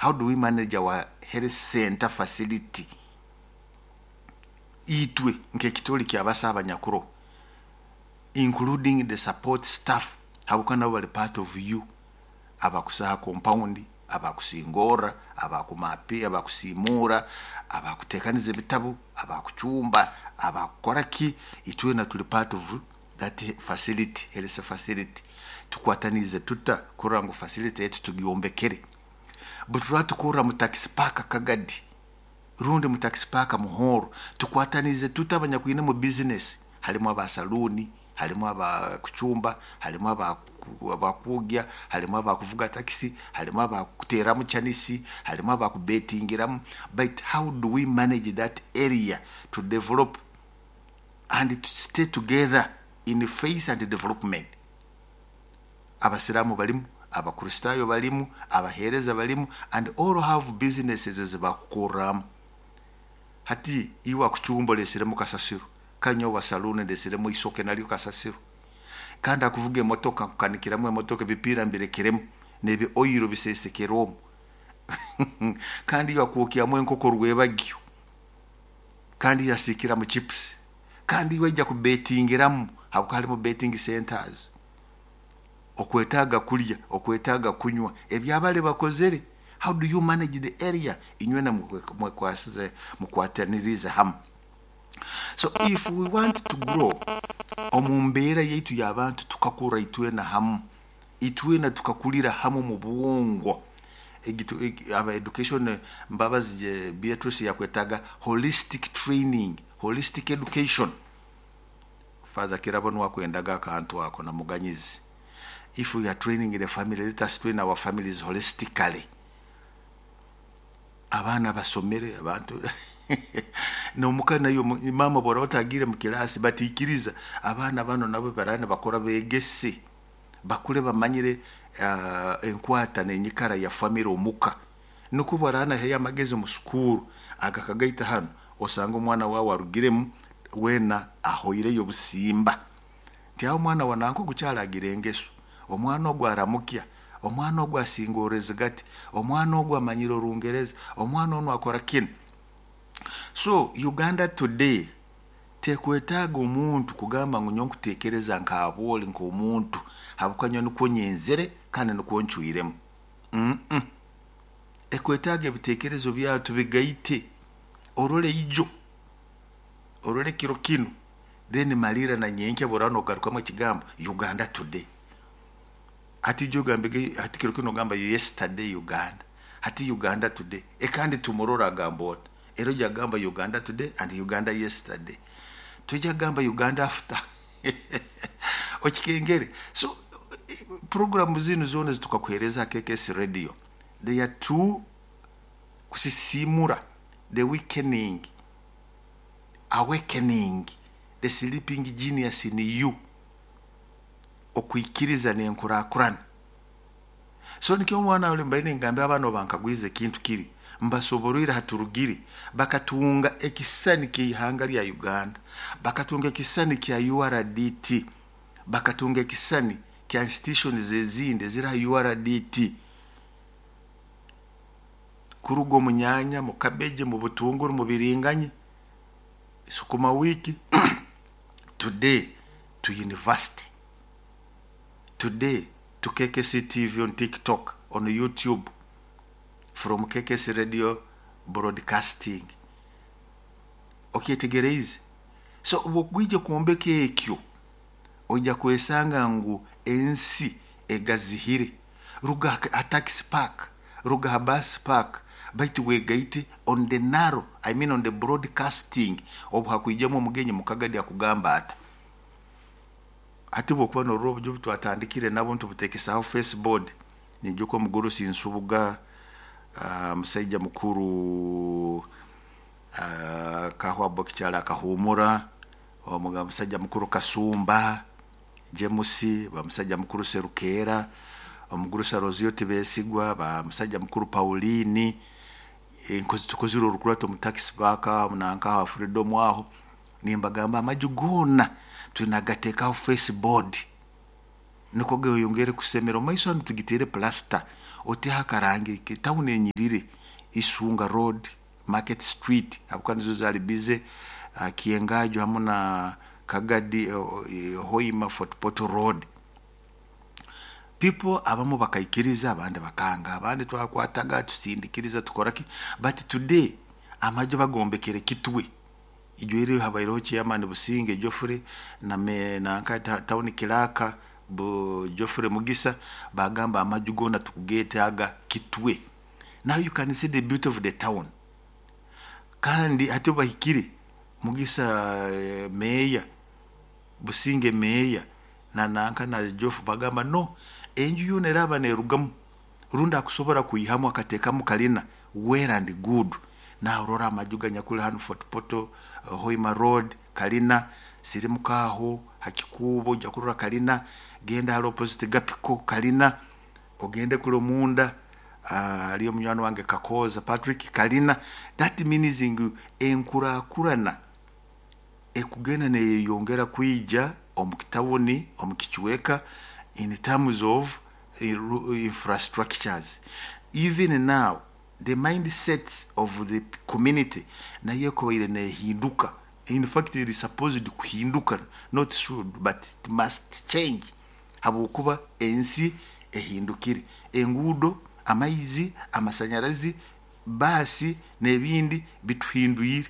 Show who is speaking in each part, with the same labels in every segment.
Speaker 1: How do we manage our health center facility? Itwe nk'ekitoli kyabasa abanyakuro, including the support staff, habwokuba nabo bali part of you, abakusaha compound, abakusingorra, abakumapi, abakusiimuura, abakuteekaniza ebitabu, abakucumba, abakukora ki, itwena tuli part of that facility, health facility. Tukwataniize tuta kurora ngu facility yaitu tugyombekere? Bwe tukorra mu taxi park Kagadi rundi mu taxi park Muhoro, tukwataniize tuta abanyakwine mu business? Halimu aba saluuni, halimu abakucumba, halimu abakwogya, halimu abakuvuga takisi, halimu abakuteeramu chanisi, halimu abakubetingiramu. But how do we manage that area to develop and to stay together in faith and development? Abasiraamu balimu, Abakristaayo balimu, abaheereza balimu, and all have businesses ezibakukorramu. Hati iwe akucumba oleseremu kasasiro, kanywa wa saluuni ndesiremu isoke nalyo kasasiro, kandi akuvuga emotoka nkukanikiramu emotoka, ebipiira mbirekeremu nebi oiro bisesekere omu, kandi iwe akwokyamu enkoko rwebagyo, kandi yasiikiramu chips, kandi iwe aija kubetingiramu habwokuba halimu betting centers. Okwetaaga kulya, okwetaaga kunywa, ebyabali bakozere. How do you manage the area? Inywena mwekwasize, mukwatanirize hamu. So if we want to grow omu mbeera yaitu y'abantu, tukakura itwena hamu, itwena tukakulira hamu mu bwongo. Aba education, Mbabazi Beatrice yakwetaga holistic training, holistic education. Father Kirabo nuwe akwendaga akantu ako na Muganyizi. If we are training the family, let us train our families holistically. Abaana basomere abantu nomuka nayo mama bwora otagire mu kilasi, batikiriza abaana bano nabo barane bakora, begese bakule bamanyire enkwata n'enyikara ya family omuka, nukwo bwarana heyo amagezi mu sukuru agakagaita hano, osanga omwana wawe arugiremu wena ahoireyo obusimba nti aho omwana wa nanka ogukyalagira engeso, omwana ogu aramukya, omwana ogu asinga gati, omwana ogu amanyire Orungereza, omwana onu akora kinu. So Uganda today tekwetaaga omuntu kugamba ngu nyowe nkuteekereza nk'abooli nk'omuntu, habwokuba nyowe nikwo nyenzere kandi nikwo ncwiremu. Ekwetaaga ebiteekerezo byawe tubigaite, orole ijo, orole kiro kinu, then malira na nyenkya bworaba nogarukamu ekigambo Uganda today. Hati ijo ogambege, hati kiro kinu ogamba yesterday Uganda, hati Uganda today. Ekandi tomorrow agamba ota? Era ojja kugamba Uganda today and Uganda yesterday, tojja kugamba Uganda after okikengere. So programu zinu zoona zitukakuheereza KKS Radio, they are to kusisimura the weakening, awakening the sleeping genius in you, okwikiriza n'enkurakurana. So nikyo omwana oli mbaire ningambira abaana, obankagwize ekintu kiri, mbasoborwire haturugire, bakatunga ekisisani ky'ihanga lya Uganda, bakatunga ekisisani kya URDT, bakatunga ekisisani kya institutions ezindi eziri ha URDT, kuruga omu nyanya, mu cabbage, mu butunguru, mu biringanya, sukuma wiki, today to university, today to KKC TV, on TikTok, on YouTube, from KKC Radio broadcasting. Okyetegereize? So obwokwija kwombeka ekyo, ojja kwesanga ngu ensi egazihire. Ruga ha taxi park, ruga ha bus park, baitu wegaite on the narrow, I mean on the broadcasting. Obu hakwijamu omugenyi mukagadi akugamba ata? Hati bwokuba norora oburyo obu twatandikire nabo ntubuteekesaho faceboard, niijuka omugurusi Nsubuga, musaija mukuru Kahwa Bokikyala akahumura, omusajja mukuru Kasumba James, bamusajja mukuru Serukeera, omugurusi Arozio Tibesigwa, bamusajja mukuru Pauline. Tukozire orukurato mu taxi park aho nanka aho Freedom aho, nimbagamba amaju goona twinagateekaho faceboard, nukwo geyongere kusemera. Omu maiso hanu tugiteere plaster. Oteho akarangi tawuni enyirire, Isunga Road, Market Street, habwokuba nizo zaali busy, Kyengaajo hamu na Kagadi, Hoima Fort Portal Road. People abamu bakaikiriza, abandi bakanga, abandi twakwataga tusindikiriza tukora ki, but today amaju bagombekere Kitwe. Ijweri habaireho chairman Businge Geoffrey na nanka town clerk Geoffrey Mugisa, bagamba amaju goona tukugeetaaga Kitwe. Now you can see the beauty of the town. Kandi hati bahikire Mugisa meya, Businge meya na nanka na Geoffrey bagamba no, enju yoona eraaba neerugamu rundi akusobora kwihamu akateekamu kalina, well and good. Nawe orora amaju ganyakuli hanu Fort Portal, Hoima Road, kalina, sirimuka aho ha kikuubo ojja kurora kalina, genda hali opposite Gapiko kalina, ogende kuli omunda haliyo munywani wange Kakooza Patrick kalina. That means ngu enkurakurana ekugenda neyeyongera kwija omu kitawuni, omu kicweka, in terms of infrastructures. Even now the mindsets of the community nayo ekubaire nehinduka. In fact it is supposed kuhinduka, not should, but it must change, habwokuba ensi ehindukire, enguudo, amaizi, amasanyarazi, baasi n'ebindi bituhindwire.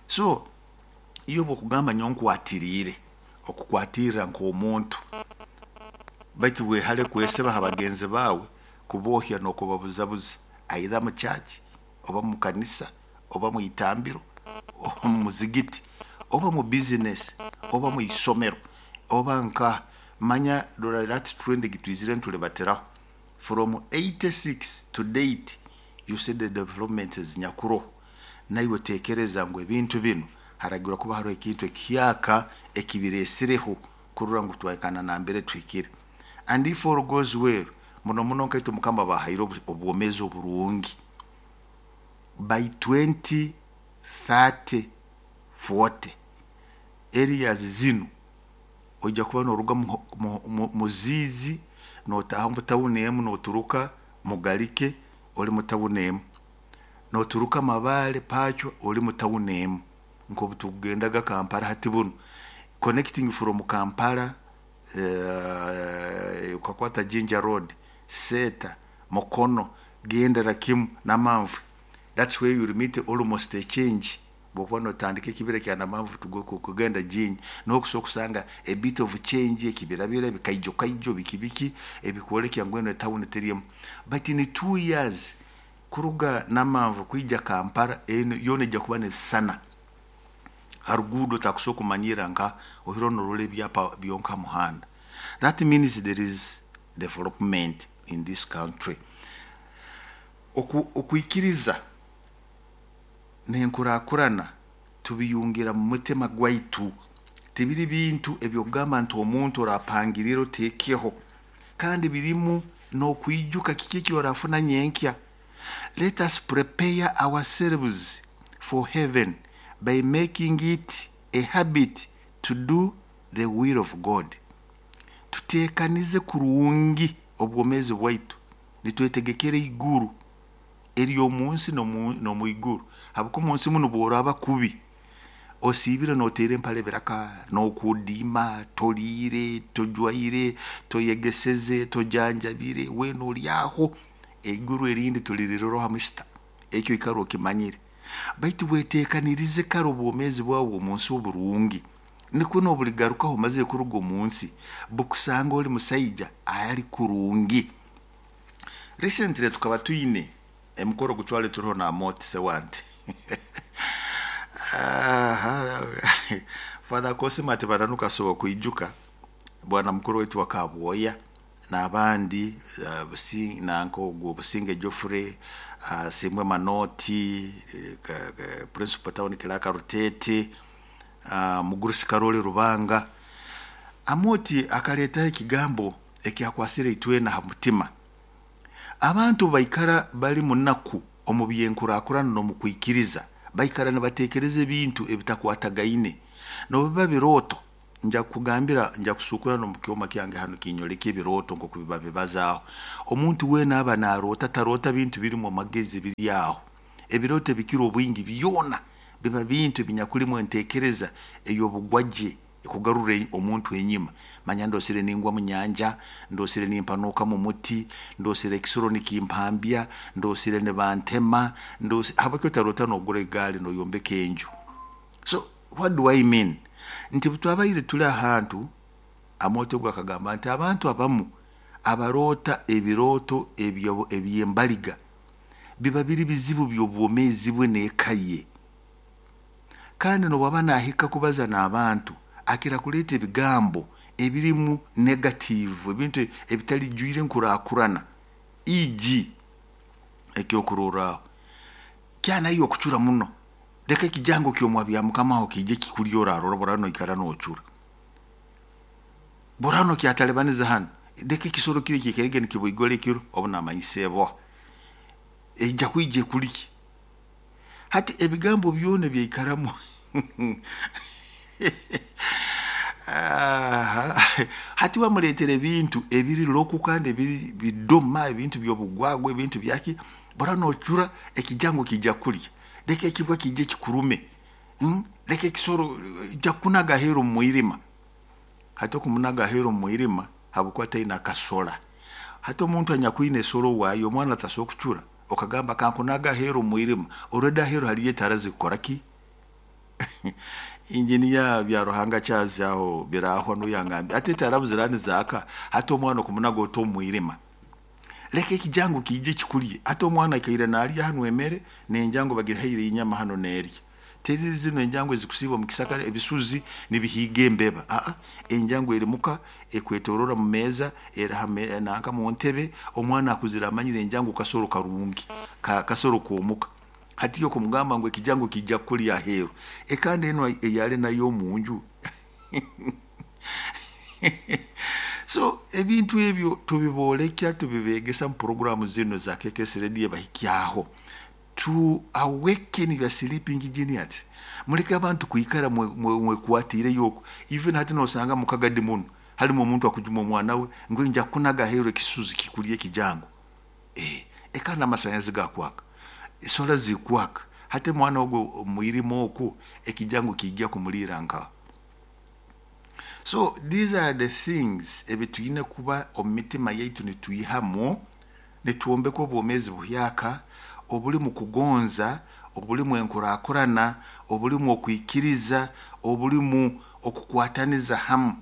Speaker 1: So iyo bwokugamba nyowe nkwatiriire, okukwatirra nk'omuntu, baitu wehale kwesiba ha bagenzi baawe kubohya n'okubabuzabuza, either mu church oba mu kanisa oba mu itambiro oba mu muzigiti oba mu business oba mu isomero oba nka manya. Rora that trend gitwizire nitulibatiraho from 86 to date. You see the development ezinyakuroho. Naiwe tekereza ngu ebintu binu haragirwa kuba haroho ekintu ekihyaka ekibiresireho kurora ngu twahikana nambere tuhikire. And if all goes well, muno muno nkaitwe Mukama bahaire obwomeezi oburungi, by 20 30 40 areas zinu ojja kuba noruga muziizi notaha mu tawuni emu, noturuka Mugalike oli mu tawuni emu, noturuka Mabaale Pachwa oli mu tawuni emu. Nkobu tukugendaga Kampala hati bunu, connecting from Kampala, ukakwata Jinja Road, Seeta, Mukono, gendera kimu Namanve, that's where you will meet almost a change. Bwokuba notandika ekibira kya Namanve kugenda Jinja, niho okusobola kusanga a bit of change, ekibirabira, ebikaijo kaijo, biki biki ebikwolekya ngu enu etawuni teri emu. But in 2 years kuruga Namanve kwija Kampala, eno yoona ejja kuba nesisana ha ruguudo, takusobola kumanyira nka ohiro norora ebyapa byonka ha muhanda. That means there is development in this country. Okwikiriza n'enkurakurana tubiyungira mu mutima gwaitu, tibiri bintu ebyokugamba nti omuntu orapangirira otekeho, kandi birimu n'okwijuka kiki eki orafuna nyenkya. Let us prepare ourselves for heaven by making it a habit to do the will of God. Tutekanize kurungi obwomeezi bwaitu, nitwetegekera iguru ery'omunsi n'omu iguru, habwokuba omunsi munu bworaba kubi osiibire noteera empale biraka nokudiima, toliire, tojwaire, toyegeseze, tojanjabire, weena oli aho, eiguru erindi toliriroraho misita. Ekyo ikara okimanyire, baitu weteekanirize kare obwomeezi bwawe omunsi oburungi, nikwo nobuligarukaho omazire kuruga omunsi bukusanga oli musaija ali kurungi. Recently tukaba twine emikoro gutwale turiho na Moti Sewante. Father Cosima ati bananuka asobola kwijuka bwana mukuru waitu wa Kabwoya n'abandi, nanka ogwo Businge Geoffrey, Simbwe Manoti, principal town clerk Rutete, Mugurusi Karoli Rubanga. Amoti akaleetaho ekigambo ekyakwasire itwena ha mutima. Abantu baikara bali munaku omu byenkurakurana n'omu kwikiriza, baikara nibateekereza ebintu ebitakwatagaine, nobiba birooto. Nja kukugambira, nja kusukura n'omu kyoma kyange hanu kinyoleka ebirooto nk'oku biba bibazaaho. Omuntu weena aba naroota, taroota bintu birimu amagezi biri aho. Ebirooto ebikira obwingi byona biba bintu ebinyakulimu entekereza ey'obugwagye ekugarura omuntu enyima. Manya ndosire ningwa mu nyanja, ndosire nimpanuuka mu muti, ndosire ekisoro nikimpambya, ndosire nibantema, habwaki otaroota n'ogura egaali n'oyombeka enju? So what do I mean? Nti butwabaire tuli ahantu, Amooti ogu akagamba nti abantu abamu abaroota ebirooto eby'embaliga biba biri bizibu by'obwomeezi bwe n'eka ye. Kandi n'obwaba nahika kubaza n'abantu, akira kuleeta ebigambo ebirimu negative, ebintu ebitalijwire enkurakurana. E.g. ekyokurorraho, kyanayo okucura muno, leka ekijango ky'omwa bya mukama aho kiije kikulye orarora boraba noikara nocura. Boraba nokyatalibaniza hanu, leka ekisoro kiri kiikarege nikiboigora ekiro obu namanyisa eboha, eija kwija ekulye. Hati ebigambo byona ebyaikaramu hati wamuleetera ebintu ebiri local kandi ebiri bidoma, ebintu by'obugwagwa, ebintu byaki, boraba nocura ekijango kiija kulya, leka ekibwa kiije kikurume, leka ekisoro ija kukunaga aheeru omu mwirima. Hati okumunaga aheeru omu mwirima habwokuba taine akasora. Hati omuntu anyakwine esoro waayo, omwana tasobora kucura okagamba kankunaga aheeru omu mwirima, already aheeru haliyo etaara zikukora ki? Engineer Byaruhanga Charles aho Birahwa nuwe yangambire ati etaara buziraaba nizaaka, hati omwana okumunaga ota omu mwirima. Leka ekijangu kiije kikulye. Hati omwana aikaire naalya hanu emere n'enjangu bagihaire enyama hanu neerya. Teziri zinu enjangu ezikusiiba omu kisaka ebisuzi nibihiiga embeba. Aa, enjangu eri muka ekwetorora mu meeza, eri ha nanka mu ntebe, omwana akuzire amanyire enjangu kasoro karungi, kasoro k'omuka. Hati yo kumugamba ngu ekijangu kiija kukulya aheeru, ekandi enu eyali nayo omu nju. So ebintu ebyo tubiboolekya, tubibeegesa mu puroguramu zinu za KKS Radio ebahikyaho. To awaken your sleeping genius. Muleke abantu kwikara mwekwatiireyo oku. Even hati nosanga mukagadi muno, halimu omuntu akujuma omwana we ngu nja kukunaga aheeru ekisuzi kikulye ekijango. Eka n'amasanyarazi gakwaka, esola zikwaka, hati omwana ogu mwirima oku ekijango kiija kumuliira nkaha? So these are the things ebitwine kuba omu mitima yaitu nitwihamu, nitwombeka obwomeezi buhyaka obulimu kugonza, obulimu enkurakurana, obulimu okwikiriza, obulimu okukwataniza hamu.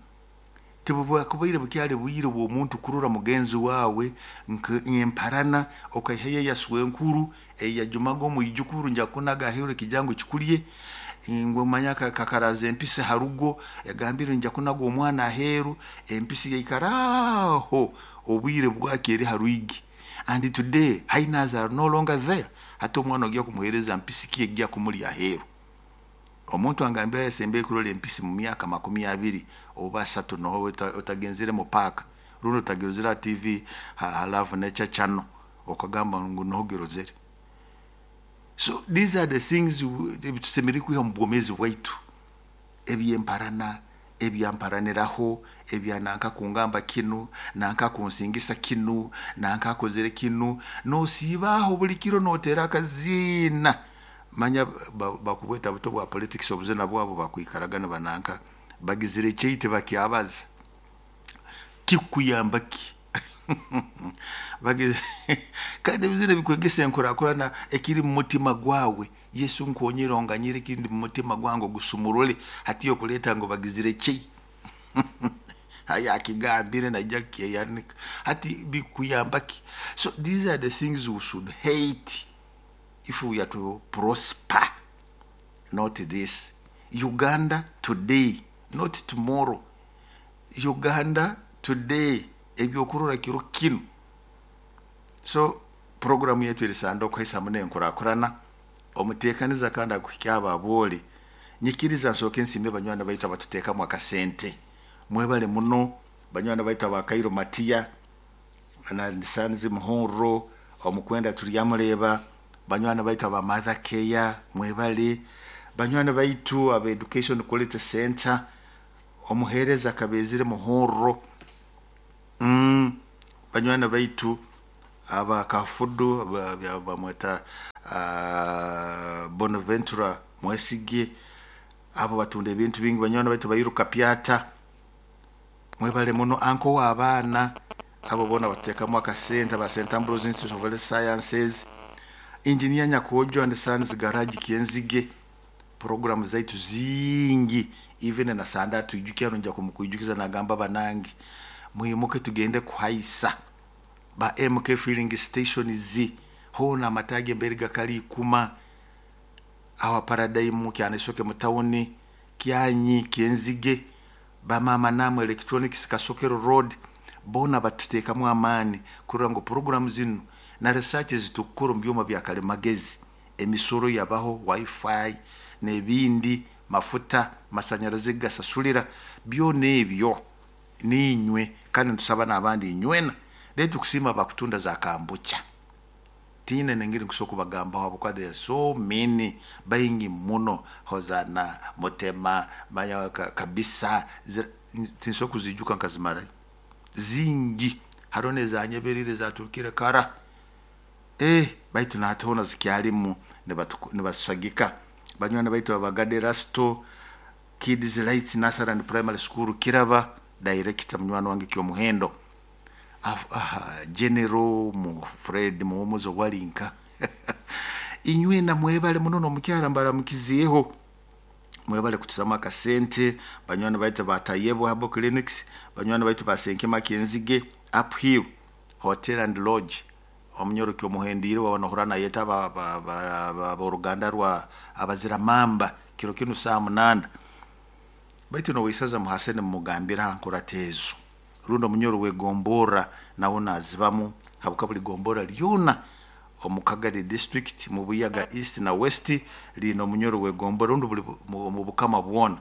Speaker 1: Tibubwakubaire bukyali bwire bw'omuntu kurora mugenzi waawe nk'emparana, okaihayo eya swenkuru eyajumaga omwijukuru nja kukunaga aheeru ekijango kikulye, ngu manya kakaraza empisi ha rugo, yagambire nja kunaga omwana aheeru, empisi yaikara aho obwire bwakyo eri ha rwigi. And today hyenas are no longer there. Hati omwana ogya kumuheereza mpisi ki ejja kumulya aheeru? Omuntu angambire yasembere kurora empisi mu myaka 20 oba 30 noho otagenzere mu paaka rundi otagirozere ha TV ha Love Nature Channel okagamba ngu noho girozere. So these are the things ebitusemeriire kwiha omu bwomeezi bwaitu, eby'emparana, ebyamparaniraho, ebya nanka kungamba kinu, nanka kunsingisa kinu, nanka akozere kinu, nosiiba aho buli kiro noteera akaziina. Manya bakubweta buto bwa politics obuzina bwabo bakwikaraga nibananka bagizire ekyei tibakyabaza. Kikukuyamba ki? Kandi ebizina ebikwegesa enkurakurana ekiri mu mutima gwawe. Yesu nkonyera onganyire ekindi mu mutima gwange ogusumurule, hati okuleeta ngu bagizire ekyei. Haya akigambire naija kukyeyanika. Hati bikukuyamba ki? So these are the things we should hate if we are to prosper. Not this. Uganda today, not tomorrow. Uganda today, ebyokurora kiro kinu. So programu yaitu erisanda okuhaisamu n'enkurakurana, omuteekaniza kandi akuhikya abo aboole. Nyikiriza nsooke nsiime banywani baitu abatuteekamu akasente. Mwebale muno banywani baitu aba Kairo Matiya, na Sanzi Muhurro, omukwenda Turyamureeba, banywani baitu aba Mother Care, mwebale. Banywani baitu aba Education Quality Center, Omuheereza akabeezire Muhorro. Banywani baitu aba Kafudu bamweta Bonaventura Mwesige, abo batunda ebintu bingi. Banywani baitu bairuka Pyata, mwebale muno. Anko w'abaana abo boona batuteekamu akasente, aba St Ambrose Institute of Health Sciences, Engineer Nyakojo and Sons Garage Kyenzige. Programu zaitu zingi, even na Sande atwijukya, nja kumukwijukiza nagamba banange mwimuke tugende kuhaisa ba MK filling stations hoona amataagi emberi gakali ikuma awa Paradigm Kyanaisooke mu tawuni Kyanyi Kyenzige, bamama namwe Electronics Kasokero Road, boona batuteekamu amaani kurora ngu programu zinu na research zitukukora omu byoma bya kalimagezi, emisoro yabaho, wifi n'ebindi, mafuta, masanyarazi gasasulira, byona ebyo niinywe, kandi nitusaba n'abandi inywena. Rero tukusiima abakutunda za kambucha, tiine nengeri nkusobola kubagambaho habwokuba there are so many, baingi muno, Hosana Mutema manya kabisa, tinsobola kuzijuka nkazimarayo, zingi. Hariho n'ezanyeberire zaturukire kara, baitu nahati hoona zikyalimu nibasagika. Banywani baitu abagade Rasto Kids Light Nursery and Primary School Kiraba, director munywani wange Kyomuhendo, General mu Fred Muhumuza Walinka, inywena mwebale muno. N'omukyara mbaramukizeeho, mwebale kutusamu akasente. Banywani baitu batayebwa Herbal Clinics, banywani baitu basenkema Kyenzige, Uphill Hotel and Lodge, omunyoro Kyomuhendiire waba nohura nayeta aboruganda rwa abaziramamba kiro kinu saa 8. Baitu noweisaza muhasene mumugambira ha nkurata ezo, rundi omunyoro wegomborra nawe nazibamu, habwokuba buli gombora lyona omu Kagadi district mu Buyaga East na West liine omunyoro wegombora, rundi buli mu bukama bwona,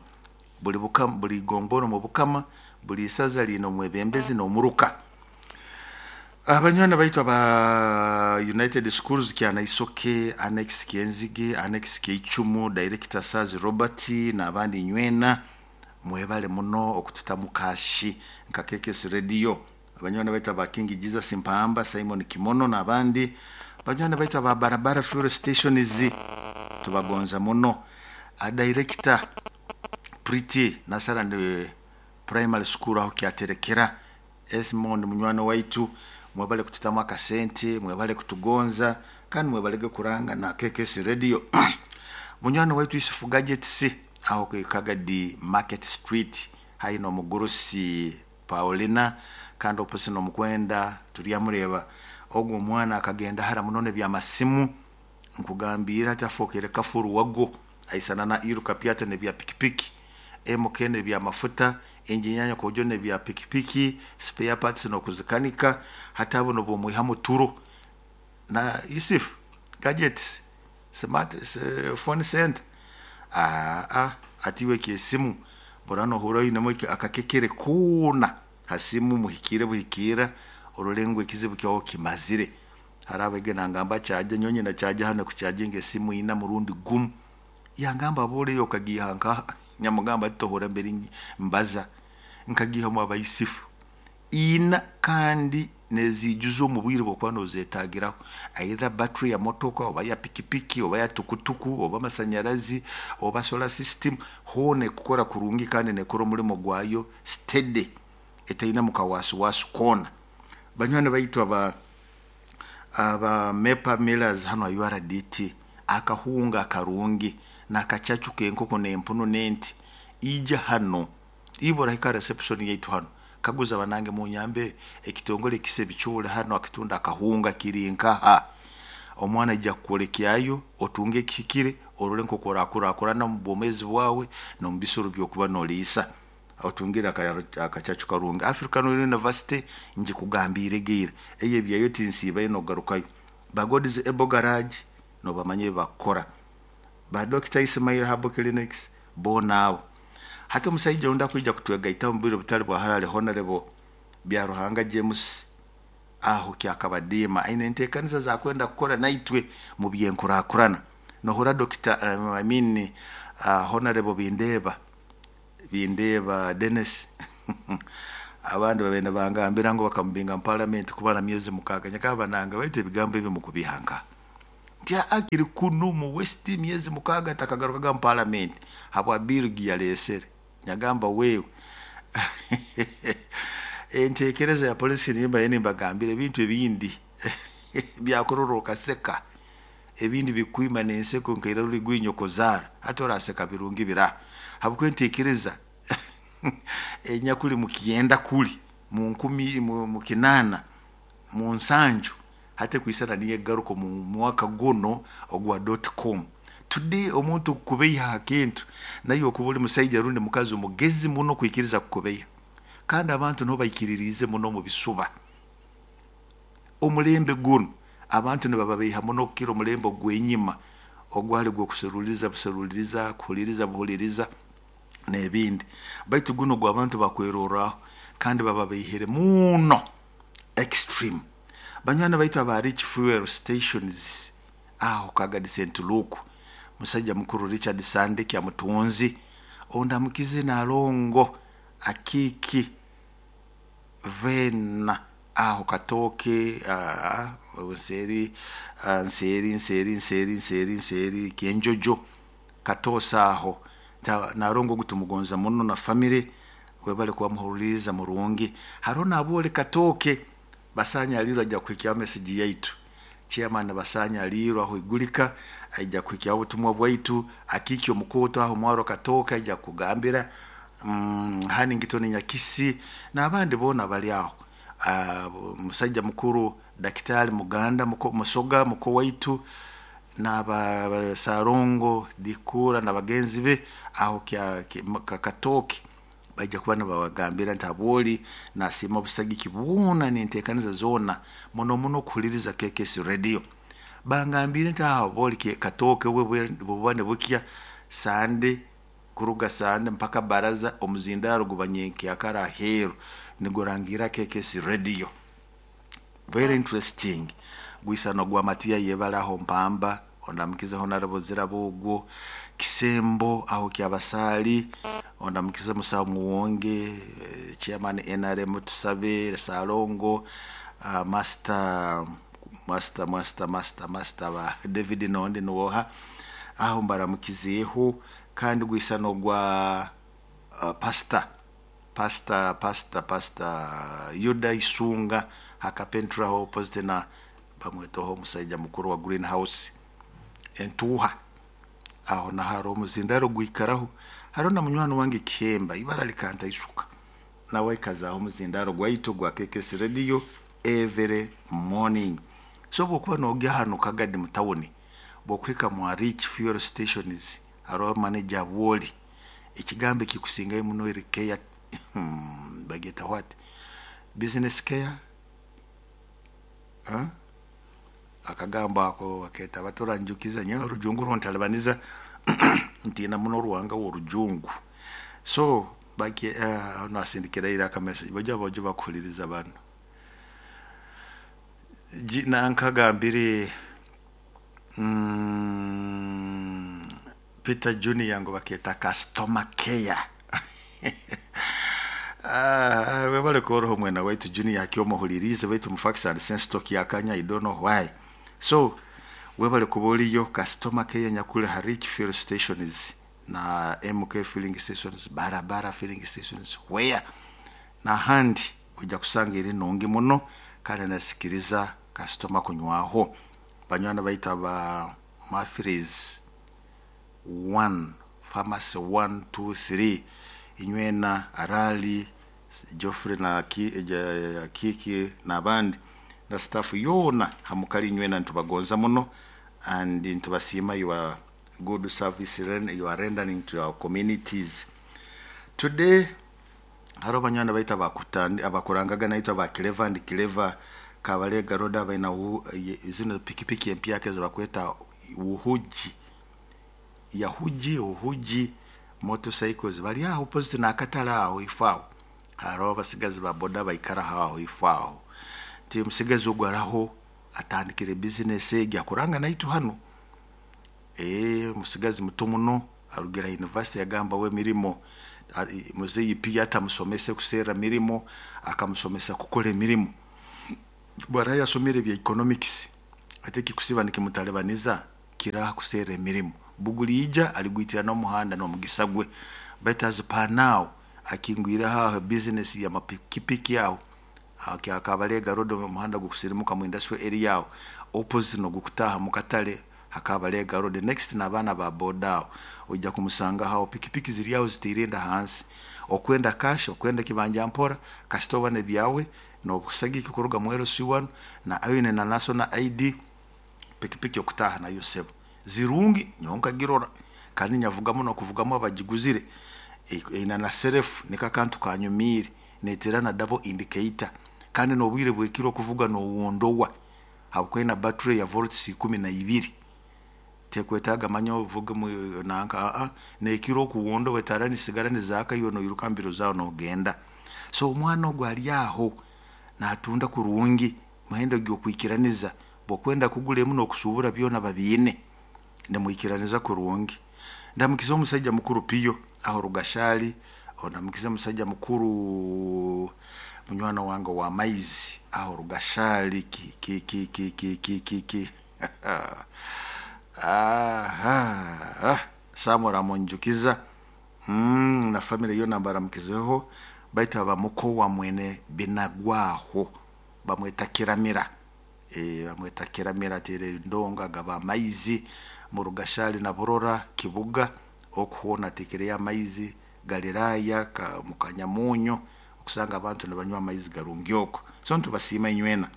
Speaker 1: buli bukama, buli gombora omu bukama, buli isaza liine omwebembezi n'omuruka. Abanywani baitu aba United Schools Kyanaisoke, Annex Kyenzige, Annex Keichumu, Director Sazi Robert n'abandi nywena mwebale muno okututamu kashi nka KKS Radio. Abanywani baitu aba King Jesus Mpamba, Simon Kimono n'abandi banywani baitu aba Barabara Fuel Stations, tubagonza muno. A Director Pretty Nasarand Primary School aho kyaterekera Esmond munywani waitu, mwebale kututamu akasente, mwebale kutugonza, kandi mwebalege kuranga na KKS Radio. Munywani waitu Isufu Gadgets aho ku Kagadi Market Street, haino omugurusi Paulina kandi opposite n'omukwenda turyamureba ogwo omwana akagenda hara muno n'ebyamasimu, nkugambira ati afookere kafuru wago, aisana na iruka pyata n'ebya pikipiki, MK n'ebyamafuta, enginyanya kojo n'ebya pikipiki, spare parts n'okuzikanika, hati abo nobwomwihamu turo na Isif Gadgets smart phone center atiwe kyesimu burano ohura oinemu akakekere koona hasimu muhikire buhikira orole ngu ekizibu kyawe kimazire. Hari abege nangamba kyaja nyonyi na kyaja hano kucharginga esimu ina murundi gumu, yangamba aboleyo okagiha nka nyamugamba tohora mbere mbaza nkagiha mu abaisifu ina, kandi nezijuza omu bwire bwokuba nozetagiraho, either battery ya motoka oba ya pikipiki oba ya tukutuku oba amasanyarazi oba solar system, hoona ekukora kurungi kandi nekora omurimo gwayo steady etaina mukawasiwasi koona. Banywani baitu aba Mepa Millers hano URDT, akahunga akarungi nakacacu kenkoko n'empunu n'enti, ija hano ibora hika reception yaitu hano, kaguza banange munyambe ekitongole kise bichule hano akitunda akahunga kiri nkaha, omwana aija kukwolekyayo otunge ekihikire orole nk'oku orakurakurana omu bwomeezi bwawe n'omu bisoro byokuba noliisa, otungire akacacu karungi. African University njikugambiire geira eyo ebyayo tinsiibayo nogarukayo. Ba God's Able Garage nobamanya ebibakukora, ba Dr Ismail Herbal Clinics boona abo. Hati omusaija ondi akwija kutwegaitaho omu bwire butali bwa harare, Honorable Byaruhanga James aho Kyakabadiima, aine enteekaniza zakwenda kukora naitwe mu byenkurakurana. Nohura Dr I mean Honorable Bindeeba Bindeeba Denis. Abandi babaire nibangambira ngu bakamubinga mu parliament kumara myezi 6. Nyakaba banange baitu ebigambo ebi mukubiha nka nti akiri kunu mu West myezi 6 takagarukaga mu parliament habwa bill giyalesere. Nyagamba wewe entekereza ya polisi nimba nimbagambira ebintu ebindi byakurora okaseka, ebindi bikwima n'enseko nkaira ruli gwinyo kuzaara hati oraseka birungi bira habwokuba entekereza enyakuli mukyenda kuli mu nkumi mu 800 mu 70 hati ekwisana niyo egaruka mu mwaka guno ogwa .com. Today omuntu kukubeiha ha kintu naye okuba oli musaija rundi mukazi omugezi muno kwikiriza kukubeiha, kandi abantu niho baikiririize muno mu bisuba. Omulembe guno abantu nibababeiha muno kukira omulembe ogw'enyima ogwali gw'okuseruliriza buseruliriza, kuhuliriza buhuliriza n'ebindi, baitu guno gw'abantu bakwerorraho kandi bababeihere muno extreme. Banywani baitu aba Rich Fuel Stations aho Kagadi St Luke, musaija mukuru Richard Sande Kyamutunzi ondamukize Nalongo Akiki Vena aho Katooke nseeri nseeri nseeri nseeri nseeri nseeri Kyenjojo Katoosa aho Nalongo ogu tumugonza muno na family webale kuba muhuliriza murungi. Haroho n'abooli Katooke Basanya alirwe ajja kuhikyaho message yaitu. Chairman Basanya alirwe aho Igulika aija kuhikyaho obutumwa bwaitu. Akiki omukoto aho Mwaro Katooke aija kugambira Hannington Nyakisi n'abandi boona bali aho. Musaija mukuru Dakitari Muganda Musoga muko waitu n'aba Sarongo Dikura na bagenzi be aho Katooke baija kuba nibabagambira nti habwoli nasiima obusagiki bwona n'enteekaniza zoona muno muno kuhuliriza KKS Radio. Bangambire nti aho habwoli Katooke buba nibukya Sande kuruga Sande mpaka baraza omuzindaro guba nyenkyakara aheeru nigurangira KKS Radio. Very interesting. Gwisano gwa Matiya yebale aho Mpamba ondamukize Honorable Zirabo ogwo Kisembo aho Kyabasaali ondamukize Musawo Muwonge chairman NRM Tusabe Salongo master master master master master ba David Nondi nuwoha aho mbaramukizeeho. Kandi gwisano gwa pastor pastor pastor pastor Yuda Isunga hakapentraho opposite na bamwetoho omusaija mukuru wa greenhouse entuuha aho naho hariho omuzindaro gwikaraho. Hariho na munywani wange Kihemba ibara likantaisuka nawe aikazaho omuzindaro gwaitu gwa KKS Radio every morning. So bwokuba nogya hanu Kagadi mu tawuni bwokuhika mwa Rich Fuel Stations hariho manager Bwoli ekigambo ekikusingayo muno eri care bageta what business care akagambo ako baketa batoranjukiza nyowe orujungu runtalibaniza ntiina muno oruhanga w'orujungu. So baki nasindikira ira aka message bajya bajya bakuhuliriza bano nankagambire Peter Junior ngo baketa customer care. Webale koroho mwena waitu Junior akyomuhulirize baitu mu facts and sense talk yakanya I don't know why. So webale kuboliyo customer care nyakule ha Rich Fuel Stations na MK filling stations, barabara filling stations where na handi ojja kusanga eri nungi muno kandi nasikiriza customer kunywaho. Banywana baita ba Mathris 1 Pharmacy 1 2 3 inywena Arali Geoffrey na Kiki n'abandi na staff yona hamukali inywena ntubagonza muno and ntubasiima your good service you are rendering to our communities. Today hariho banywana baita abakurangaga naitwe ba Clever and Clever Kabalega Road abaina zino pikipiki empyaka ezibakweta Uhuji Yahuji Uhuji motorcycles bali aho opposite n'akatale aho ifaaho. Hariho abasigazi ba boda baikara aho ifaaho ti musigazi ogwo araho atandikire business egi akuranga naitu hano. Musigazi muto muno arugira university yagamba we mirimo Muzeyi Piyo atamusomese kuserra mirimo, akamusomesa kukora emirimo. Bwaraaba yasomere ebya economics, hati ekikusiba nikimutalibaniza kiraha kuserra emirimo. Buguliija aligwitira n'omuhanda n'omugisa gwe, baitu as per now akingwireho aho business y'amapikipiki aho Kabalega road, omuhanda gukusirimuka mu industrial area aho opposite n'ogukutaaha mu katale ha Kabalega road next n'abaana ba boda aho ojja kumusangaho aho, pikipiki ziri aho zitiire enda hansi. Okwenda cash, okwenda kibanja mpora, kasita oba n'ebyawe n'obusagiki kuruga mu LC1 na oine na national ID, pikipiki okutaaha nayo sebo. Zirungi nyowe nkagirora kandi nyavugamu n'okuvugamu abagiguzire, eine na self, niko akantu kanyumiire, neteera na double indicator kandi n'obwire bw'ekiro okuvuga n'owondowa habwokuba eine battery ya volts 12, tekwetaaga manya ovuge nanka, n'ekiro okuwondowa etaara nizisigara nizaaka iwe noiruka mbiro zaawe nogenda. So omwana ogu ali aho naatunda kurungi, muhendo gy'okwikiraniza, bw'okwenda kugura emu n'okusuubura byona babiine, nimwikiraniza kurungi. Ndamukize omusaija mukuru Piyo aho Rugashaali, ondamukize omusaija mukuru munywani wange ow'amaizi aho Rugashaali ki ki ki ki ki ki ki ki aha Samuel amunjukiza na family yoona mbaramukizeho, baitu abamuko wa mwene Binagwaho bamweta Kiramira, bamweta Kiramira ateera endongo agaba amaizi mu Rugashaali na Burora Kibuga, oku hoona ateekereyo amaizi Galiraaya mu Kanyamunyu, okusanga abantu nibanywa amaizi garungi oku. So nitubasiima inywena,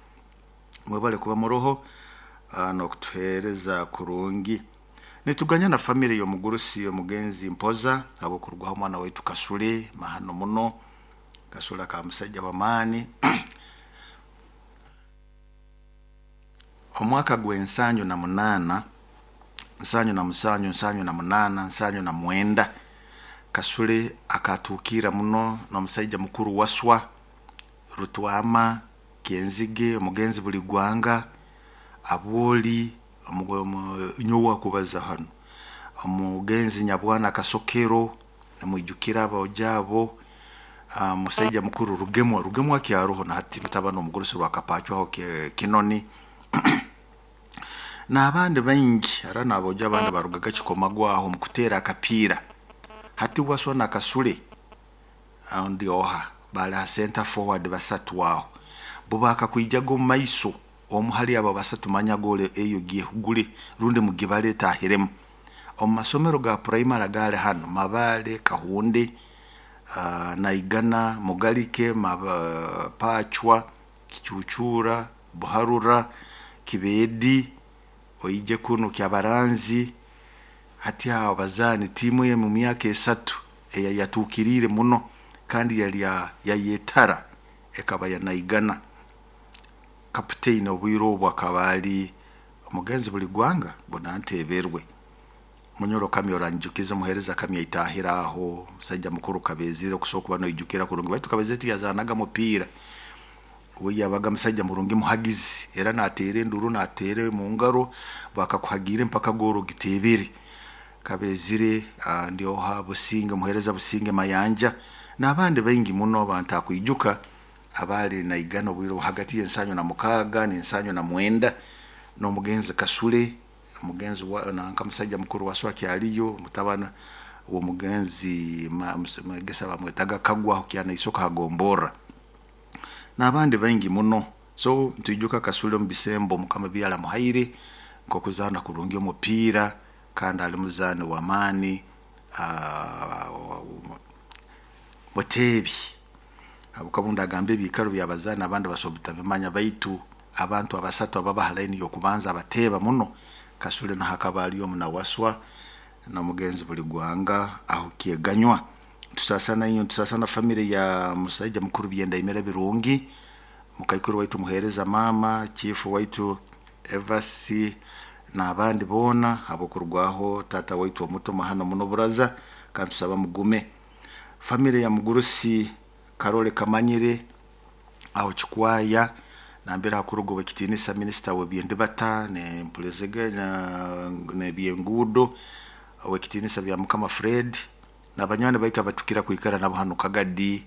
Speaker 1: mwebale kuba muroho n'okutuheereza kurungi. Nituganya na family y'omugurusi omugenzi Mpoza habw'okurugwaho omwana waitu Kasule, mahano muno. Kasule akaba musaija w'amaani. Omwaka gw'ensanju na munaana, nsanju na musanju, nsanju na munaana, nsanju na mwenda, Kasule akatuukirra muno n'omusaija mukuru Waswa, Rutwama, Kyenzige, omugenzi Buligwanga, Abwoli, nyowe akubaza hanu, omugenzi Nyabwana Kasokero, nimwijukira aboojo abo, musaija mukuru Rugemwa, Rugemwa akyaroho na hati mutabani w'omugurusi Rwakapacwa aho Kinoni n'abandi baingi, haroho n'aboojo abandi barugaga Kikomago aho omu kuteera akapiira. Hati Waswa na Kasule ndi oha baali ha center forward basatu aho, bo baakakwijaga omu maiso, omu hali abo abasatu manya goolo eyo gyehugule rundi mugibale etaahiremu. Omu masomero ga primary agaali hanu Mabaale, Kahunde, Naigana, Mugalike, Pacwa, Kicuucuura, Buharura, Kibeedi, oije kunu Kyabaranzi, hati aho abazaani tiimu emu myaka 3 eyayatuukiriire muno kandi yali yayetara ekaba ya Naigana. Kaputaini obwire obu akaba ali omugenzi Buligwanga Bonanteeberwe. Munyoro Kamya oranjukiza omuheereza Kamya aitaahire aho, omusaija mukuru Kabeezire okusobora kuba noijukira kurungi, baitu Kabeezire tiyazaanaga mupiira, we yabaga musaija murungi muhagizi, era naateera enduru naateera omu ngaro, bakakuhagiire mpaka goolo ogiteebere. Kabeezire ndi oha Businge, omuheereza Businge Mayanja n'abandi baingi muno abantakwijuka abaali Naigana obwire obu hagati y'ensanju na mukaaga n'ensanju na mwenda, n'omugenzi Kasule, omugenzi nanka musaija mukuru Waswa akyaliyo, mutabani w'omugenzi mwegesa bamwetaga Kagwa aho Kyanaisoka ha Gomborra n'abandi baingi muno. So nitwijuka Kasule omu bisembo Mukama ebi yaramuhaire nk'okuzaana kurungi omupiira kandi ali muzaani w'amaani, muteebi, habwokuba obu ndagamba ebiikaro by'abazaani abandi basobora butabimanya, baitu abantu abasatu ababa ha line y'okubanza abateeba muno, Kasule nuho akaba ali omu na Waswa n'omugenzi Buligwanga aho Kyeganywa. Nitusaasana inywe, nitusaasana family ya musaija mukuru Byendaimira Birungi, mukaikuru waitu muheereza maama, chief waitu Evasi n'abandi boona habw'okurugwaho taata waitu omuto mahano muno Buraza, kandi tusaba mugume. Family ya mugurusi Karole Kamanyire aho Kikwaya nambere hakuruga ow'ekitiinisa minisita w'ebyendibata n'ebyenguudo ow'ekitiinisa Byamukama Fred. N'abanywani baitu abatukira kwikara nabo hanu Kagadi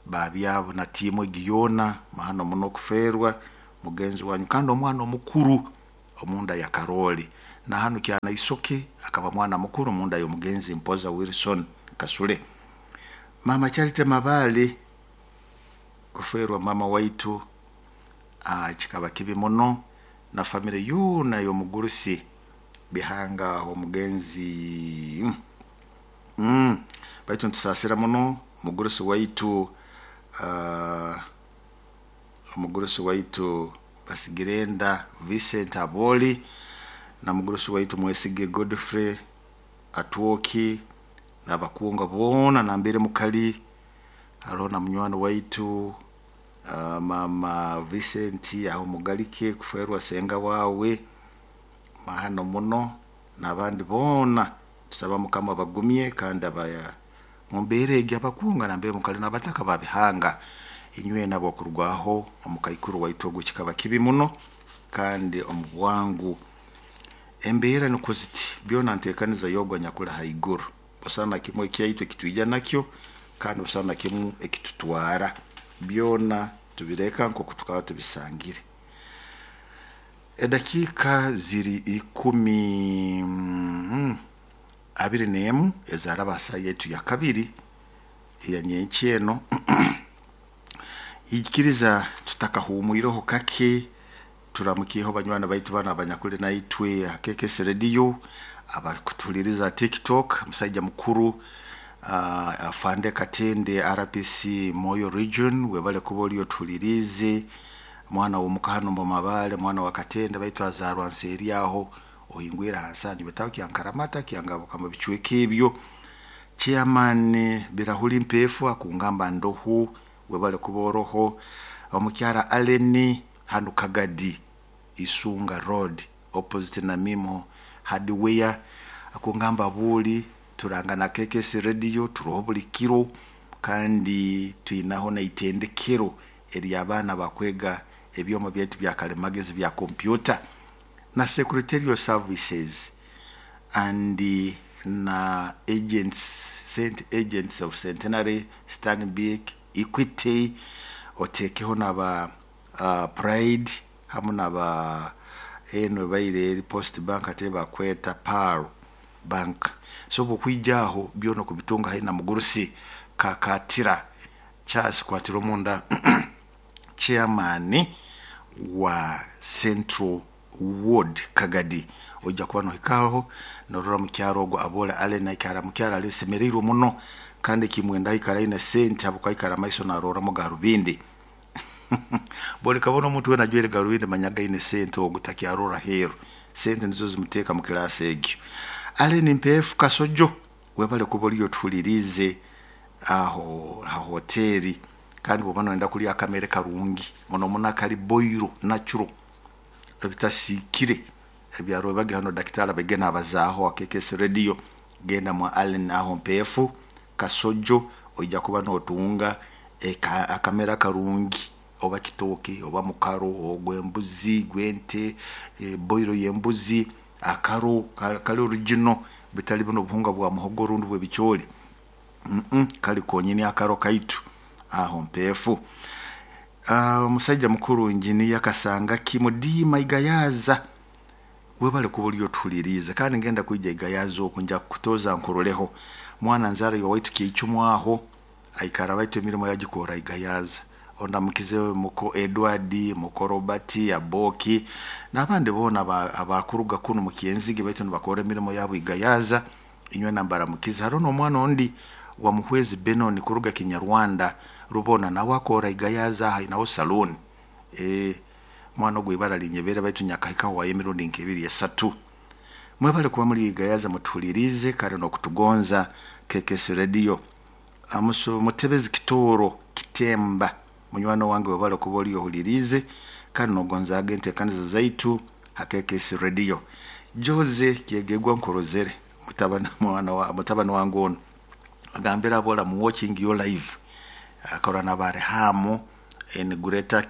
Speaker 1: babyabo na tiimu egi yoona, mahano muno kufeerwa mugenzi wanyu kandi omwana omukuru omunda ya Karoli. Na hanu Kyanaisoke akaba mwana mukuru munda y'omugenzi Mpoza Wilson Kasule. Mama Charity Mabale kufeerwa mama waitu kikaba kibi muno, na famire yoona y'omugurusi Bihanga omugenzi baitu nitusaasira muno omugurusi waitu Basigirenda Vincent Aboli na mugurusi waitu Mwesige Godfrey Atwoki n'abakunga boona nambere mukali. Haroho na munywani waitu mama Vincent aho Mugalike kufeerwa senga wawe, mahano muno, n'abandi boona tusaba Mukama abagumye kandi mumbeera egi abakunga nambere mukali n'abataka ba Bihanga, inywena abokurugwaho omukaikuru waitu ogu kikaba kibi muno kandi omu bwangu. Embeera nukwo ziti, byona nteekaniza y'ogu anyakuli haiguru, busaho na kimu ekyaitu ekitwija nakyo kandi busaho na kimu ekitutwara, byona tubireka nkooku tukaba tubisangire. Edakiika ziri 21 ezaraba ha saaha yaitu ya kabiri eya nyenkya eno. Ikiriza tutakahumwireho kake, turamukyeho banywani baitu banu abanyakuli naitwe ha KKS Radio, abakutuhuliriza ha TikTok, musaija mukuru Afande Katende RPC Moyo Region, webale kuba oli otuhuliriize, mwana w'omuka hanu Mabale, mwana wa Katende baitu azaarwa nseeri aho ohingwire ha nsangi betaho Kyankaramata, Kyangabuka mu bicweka ebyo. Chairman Birahuli Mpeefu akungamba ndohu, webale kuba oroho. Omukyara Allen hanu Kagadi Isunga Road opposite na Mimo Hardware akungamba buuli turangana KKS Radio turoho buli kiro kandi twinaho n'itendekero ery'abaana bakwega ebyoma byaitu bya kalimagezi bya kompyuta na secretarial services and na agents, Saint Agents of Centenary, Stanbic, Equity, otekeho naba Pride hamu naba eno ebaire eri Post Bank ate bakweta Pearl Bank. So obukwija aho byona okubitunga haihi na mugurusi Kakatira Charles Kwatira omunda chairman wa Central Ward Kagadi, ojja kuba nohikaho norora mukyaro ogu Abole Allen aikara mukyaro alisemereirwe muno kandi kimwenda aikara aine sente habwokuba aikara amaiso naroramu garubindi. Boli kabona omuntu wena ajwaire garubindi manyaga aine sente ogu takyarora heeru, sente nizo zimuteeka mu kilaasi egyo. Allen Mpeefu Kasojo webale kuba oliyo otuhuliriize aho ha hoteri, kandi bwoba noyenda kulya akamere karungi muno muno akali boiro natural ebitasiikire ebyarwebage hano daktari abaige nabazaaho ha KKS Radio, genda mwa Allen aho Mpeefu Kasojo ojja kuba notunga akamere akarungi, oba kitooke oba mukaro ogw'embuzi gw'ente, boiro y'embuzi, akaro kali original bitali buno obuhunga bwa muhogo rundi bw'ebicooli, kali konyini akaro kaitu aho Mpeefu. Omusaija mukuru engineer Kasangaki Mudiima Igayaza webale kuba oli otuhuliriize kandi ngenda kwija Igayaza oku nja kukutoza nkuroleho. Mwana nzaara y'owaitu Kyeicumu aho aikara baitu emirimo yagikora Igayaza. Ondamukize muko Edward, muko Robert, Aboki n'abandi boona abakuruga kunu mu Kyenzige baitu nibakora emirimo yabo Igayaza, inywe nambaramukize. Haroho n'omwana ondi wa Muhwezi Benon kuruga Kinyarwanda Rubona nawe akora Igayaza aho ainaho saloon. Mwana ogu ibara linyebere baitu nyakahikaho wayo emirundi nk'ebiri esatu. Mwebale kuba muri Igayaza mutuhuliriize kandi n'okutugonza KKS Radio. Mutebezi Kitooro Kitemba munywani wange webale kuba oli ohuliriize kandi nogonzaaga enteekaniza zaitu ha KKS Radio. Jose Kyegegwa nkurozere mutabani wange onu agambire abola mu watching your live akora na Barehamu en Greater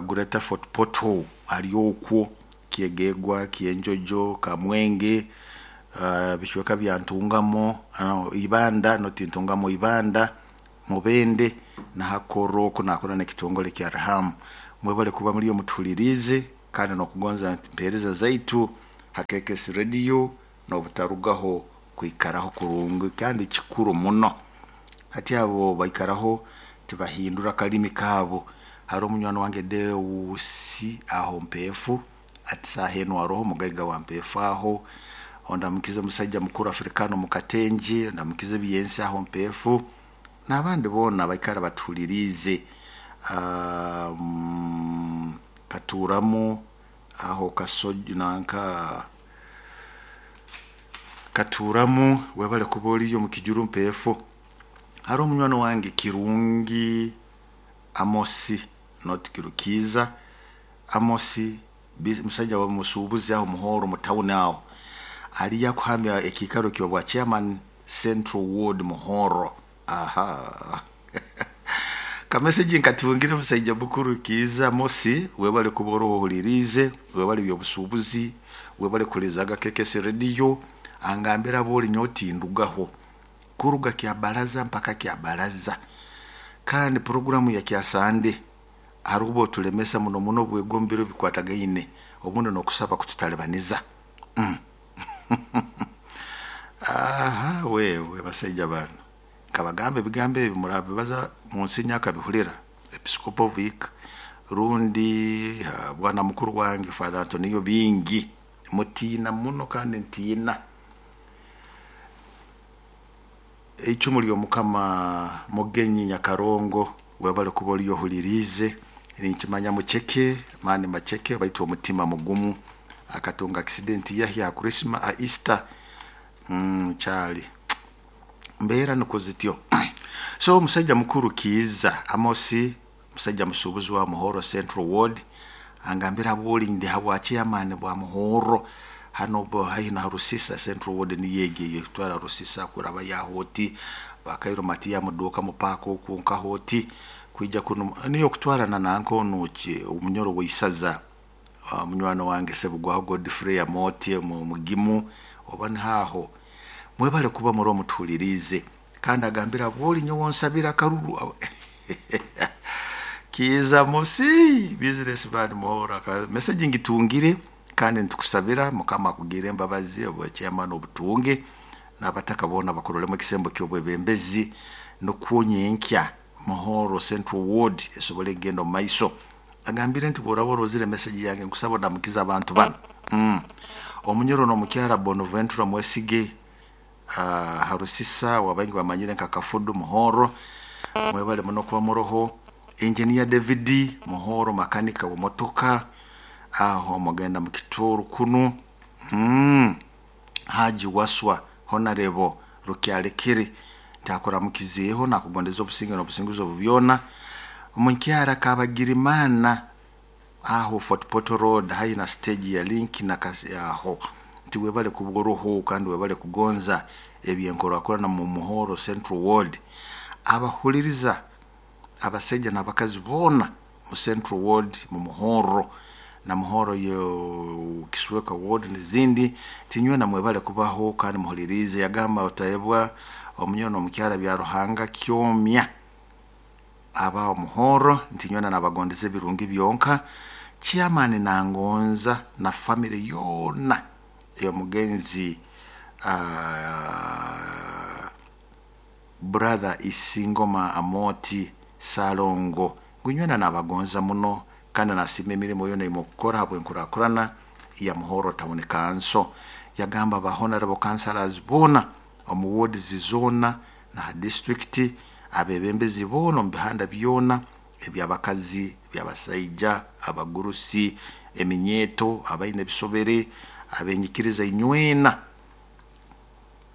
Speaker 1: Greater Fort Portal ali okwo Kyegegwa, Kyenjojo, Kamwenge. Bicweka bya Ntungamo, Ibanda, noti Ntungamo, Ibanda, Mubende nahakoro oku nakora n'ekitongole kya Rahamu. Mwebale kuba muri mutuhulirize kandi n'okugonza mpereza zaitu ha KKS Radio n'obutarugaho kwikaraho kurungi kandi kikuru muno. Hati abo baikaraho tibahindura kalimi kaabo. Hari omunywani wange Deusi aho Mpeefu, ati saaha enu aroho mugaiga wa Mpeefu aho. Ondamukize omusajja mukuru Afrikano Mukatenje, ondamukize Byensi aho Mpeefu, n'abandi boona baikara batuhuliriize. Katuuramu aho Kasojo nanka Katuuramu, webale kuba oriyo omu Kijuru Mpeefu. Hariho omunywani wange Kirungi Amosi, not Kirukiiza Amosi, musajja wa musuubuzi aho Muhoro mu town aho. Aliyo akuhamya ekiikaro ky'obwa chairman Central Ward Muhoro. Aha. Kamesegi nkatungire omusaija mukuru Kiiza Amosi, webale kuba oroho ohuliriize, webale by'obusuubuzi, webale kuhuliirizaga KKS Radio, angambira abooli nyowe tindugaho. Kuruga kya baraza mpaka kya baraza. Kandi puroguramu ya kya Sande hariho obu otulemesa muno muno obwegombero bikwatagaine obundi n'okusaba kututalibaniza. Aha wewe basaija banu nkabagamba ebigambo ebi murabibaza munsinya akabihulira Episcopal Vic rundi bwana mukuru wange Father Antonio Bingi, mutiina muno kandi ntiina. Eicumu ly'omukama Mugenyi Nyakarongo, webale kuba oriyo ohuliriize, ninkimanya muceke maani maceke baitu omutima mugumu, akatunga accident yahi aha Christmas, aha Easter kyali mbeera nukwo zityo. So omusajja mukuru Kiiza Amosi, musajja musuubuzi wa Muhoro Central Ward, angambira abooli ndi habwa chairman bwa Muhoro hano haihi na Rusisa Central Ward, niyo egi etwara Rusisa kuraba Yahoti bakairo Matiya muduuka mupaaka oku nkahoti kwija kuno niyo kutwarana nanka onu omunyoro w'isaza, munywani wange Sebugwaho Godfrey Amooti mugimu oba nihaho. Mwebale kuba muri omutuhuliriize kandi agambira abooli nyowe onsabira akaruru. Kiiza Amosi business man Muhoro, message ngitungire kandi nitukusabira mukama akugire embabazi obwa chairman obutunge n'abataka boona bakurolemu ekisembo ky'obwebembezi nukwo nyenkya Muhoro Central Ward esobole kugenda omu maiso. Agambire nti bw'oraba orozire message yange nkusaba ondamukize abantu banu. Omunyoro n'omukyara Bonaventura Mwesige, Harusisa wabaingi bamanyire nka Kafudu Muhoro, mwebale muno kuba muroho. Engineer David Muhoro makanika wa motoka aho mugenda mu Kitooro kunu. Haji Waswa Honorable Rukyalekere ntakuramukizeeho nakugondeza obusinge n'obusinguzi obu byona. Omukyara Kabagirimana aho Fort Portal Road haihi na stage ya Link na kasi aho nti webale kuba oroho kandi webale kugonza ebyenkorakorana mu Muhoro Central Ward. Abahuliriza abasaija n'abakazi boona mu Central Ward mu Muhoro na Muhoro yo Kisweka Ward n'ezindi, tinywena mwebale kubaho kandi muhulirize. Yagamba otayebwa omunyoro n'omukyara bya Ruhanga kyomya aba Muhoro, nti nywena nabagondeza ebirungi byonka. Chairman nangonza na family yoona ey'omugenzi brother Isingoma Amoti Salongo, ngu nywena nabagonza muno kandi nasiima emirimo yoona eyimukukora habw'enkurakurana ya Muhoro Town Council. Yagamba ba honorable councillors boona omu wards zoona na ha district, abebembezi boona omu bihanda byona eby'abakazi, eby'abasaija, abagurusi, eminyeeto, abaine ebisobere, abenyikiriza inywena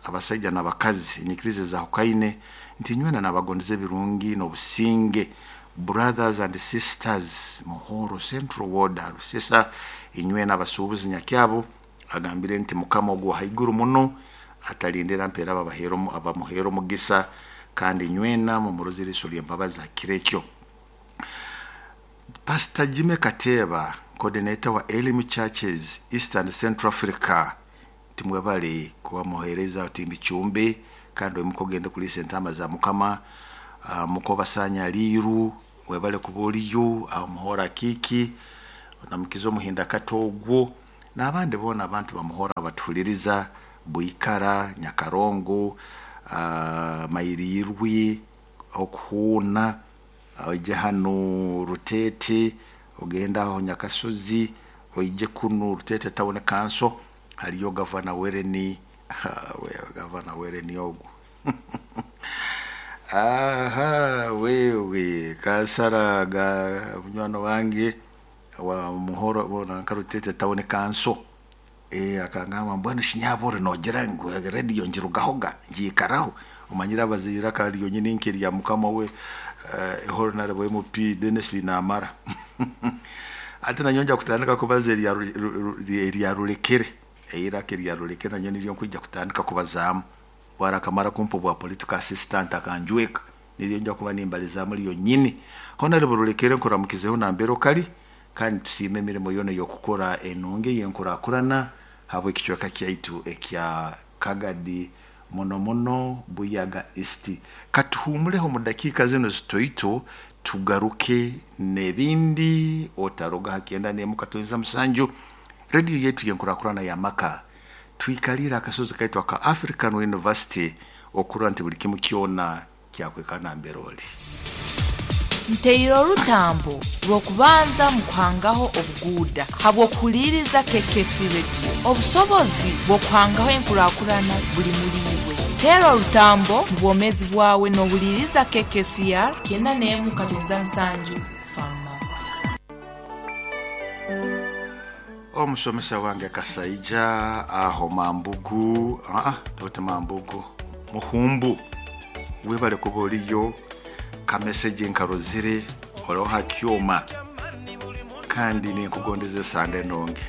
Speaker 1: abasaija n'abakazi, enyikiriza ezahukaine, nti nywena nabagondeza ebirungi n'obusinge. Brothers and sisters Muhoro Central Ward Harusisa, inywena abasuubuzi nyakyabo, agambire nti mukama ogwo haiguru muno atalindira mpeera abamuheera omugisa kandi nywena mumurozere eriiso ly'embabazi ha kiro ekyo. Pastor Jimmy Kateba, coordinator wa Elimu Churches East and Central Africa, Timwebale kuba muhereza Timbichumbe, kandi oimuka ogende kulisa entama za Mukama. Mukobasanya liiru, webale kuba oliyo aho muhora kiki namukiza omuhinda kato ogwo n'abandi boona abantu bamuhora batuhuliriza Bwikara, Nyakarongo, Mairirwi, Okuhuuna, oije hanu Rutete, ogenda aho Nyakasozi, oije kunu Rutete Town Council, haliyo Gavana Wereni, Gavana Wereni ogwo. Aha, wewe kansara ga munywani wange wa Muhoro bona nka Rutete Town Council. Akangamba mbwenu shinyabore nogira ngu radio ngirugahoga ngiikaraho, omanyire abazaire akari yonyini nk'erya mukama we, Honorable MP Dennis Binamara. Ati nanyo nja kutandika kubaza erya Rulekere, eiraka erya Rulekere nanyo niryo nkwija kutandika kubazaamu. Bwara akamara kumpa obwa political assistant akanjweka, niryo nja kuba nimbalizaamu ryonyini. Honorable Rulekere, nkuramukizeho nambere okali, kandi tusiime emirimo yoona ey'okukora enungi ey'enkurakurana habw'ekicweka kyaitu ekya Kagadi, muno muno Buyaga East. Katuhumuleho mu dakiika zino zitoito, tugaruke n'ebindi. Otaroga ha 97.7 rediyo yetu y'enkurakurana y'amaka. Twikalire akasozi kaitu aka African University okurora nti buli kimu kyona kyakwekana mbere oli.
Speaker 2: Nteire orutambo rw'okubanza mu kuhangaho obuguuda habw'okuhuliiriza KKC Radio. Obusobozi bw'okuhangaho enkurakurana buli muli iwe. Teera orutambo mu bwomeezi bwawe n'ohuliiriza KKCR 91.7 Farma.
Speaker 1: Omusomesa wange Kasaija aho Mambugu, oti Mambugu, Muhumbu, webale kuba oliyo. Kameseji nkarozire oriho ha kyoma, kandi ninkugondeza esande enungi.